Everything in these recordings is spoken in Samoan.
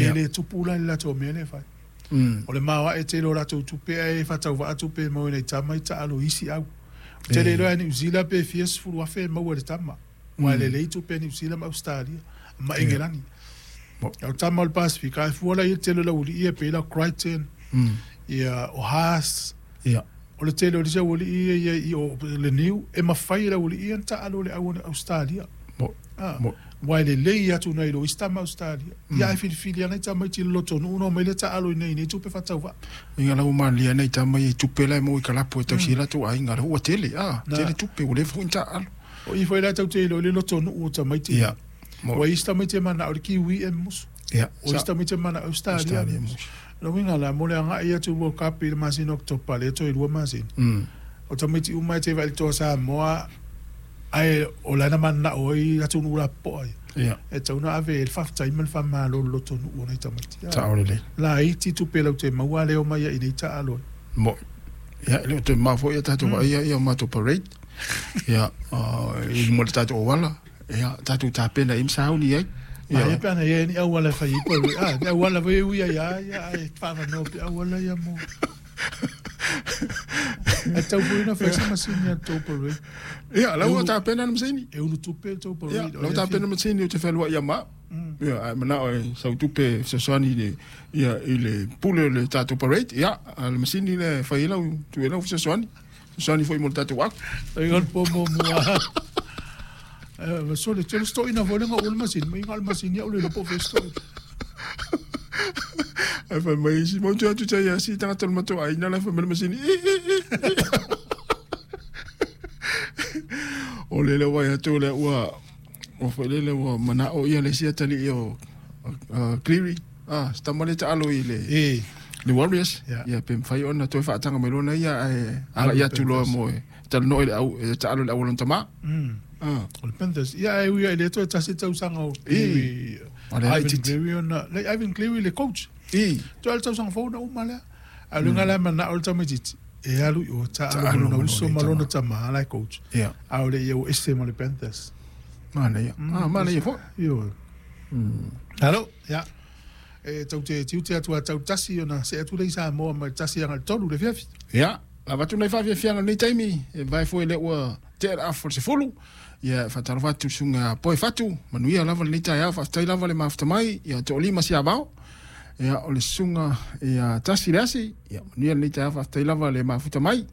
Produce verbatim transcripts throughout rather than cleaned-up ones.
E le tupu la i le latou mea lea e fai. Mm. O le maoae tele o latou tupe ae faatauvaa tupe e maua ai nai tama i taalo i isi au. Ou te le iloa ia Niu Sila pe fia sefulu afe e maua e le tama. Aua e lelei tupe a Niu Sila ma Ausetalia ma Engelani. A o tama o le Pasefika, a fua la i ai le tele o le aualii ia pei la o Crichton, ia o Haas, o le tele o isi aualii ia ia i o le niu, e mafai e le aualii ia ona taalo i le au a Ausetalia. Aua e lelei atu nai lo isi tama Ausetalia. Ia ae filifili lava nai tamaiti i le lotonuu ona omai lea taalo i inei i nei tupe faatauvaa. Inga la ua malilie nai tama ia i tupe la e maua i kalapu e tausi ai latou aiga, lea ua tele, a, tele tupe ua leva foi ona taaalo. O i foi la tatou te iloa i le lotonuu o tamaiti ia. Ua i isi tamaiti e manao i le Kiwi e musu. O isi tamaiti e manao i Ausetalia e musu. O le uiga la, mo le agai atu i World Cup i le masina o Oketopa, lea toe lua masina, o tamaiti uma e te vaai i le Toa Samoa, ae o la na mananao ai atunuu lapopoa ia, e tatau ona ave i ai le faafetai ma le faamalo i le lotonuu o nai tamaiti. Sao lelei. Laiti tupe latou te maua a le omai ai i nei taalo ai. Mo'i. Ia, e le o toe mamao foi ia tatou vaaia ia matou parade. Ia, i luma o le tatou auala. Ia, tatou tapena i ai ma sauni ai. Ia, pe ana i ai ni auala e fai ai parade. Ah, ni auala foi e ui ai lava ia, ae faavanoa pea auala ia mo. Ae tatau foi ona fai se masini a le tou parade. Ia, la ua tapena le masini. E ulu tupe le tou parade. Ia, la ua tapena le masini ou te fealuai ia ma au. Ia, ae manao e sau tupe e fesoasoani i le, ia, i le pule o le tatou parade. Ia, a o le masini lea e fai ai lau, tuu ai lau fesoasoani. Fesoasoani foi mo le tatou afu. Ai o le po muamua. Eh, sole, tele stoina foi le ngau o le masini, mai ngau le masini au le iloa po o fea stoina. Ae fai mai isi, mau te atu tai asi tagata o le matou aiga la e fai mai le masini, i, i, i, i. O lele ua vaai atu lea ua, ua foi lele ua manao ia le isi atalii o uh, Cleary, ah, se tama lea taalo i le, E. le Warriors, Yeah. ia pe mafai ona toe faataga mai loa ia ae agai atu loa mo e talanoa i le au, e taalo i le au o lona tama. Mm. Ah. O le Panthers. Ia, ae ui ai le toe tasi tausaga o Cleary. O le Ivan laitiiti. Cleary ona, le Ivan Cleary le coach. I. Toe le tausaga fou na uma lea. A o le uiga la e manao le tamaitiiti, e alu i o taalo Taalo ma lona ma uso lona ma lona tama la e coach. Ia. A o le ia ua ese ma le Panthers. Manaia. Ah, manaia foi. Ioe. Alo, ia. E tau te tiute atu a tau tasi ona see atu lea i Samoa mai le tasi aga i le tolu le afiafi. Ia, lava atu nai faafiafiaga i lenei taimi, e vae foi lea ua tea le afa o le sefulu. Ia, e faatalofa atu i le susuga Poe Fatu, manuia lava lenei taeao, faafetai lava le mafuta mai, ia toalima Siavao. Ia, o le susuga ia Tasi le Asi, ia manuia lenei taeao, faafetai lava le mafuta mai.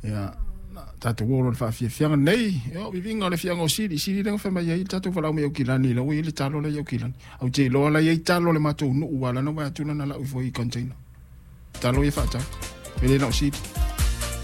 Ia, na tatou o loa i le faafiafiaga lenei, ia, o viviga o le afioaga o Sili, Sili lea na fai mai ai le tatou valaau mai Aukilani, la ua i ai le talo la i Aukilani. Ou te iloa la i ai talo a le matou nuu, aua la na vaai atu lana lau ifo i container. Talo ia faatau, e le na o Sili.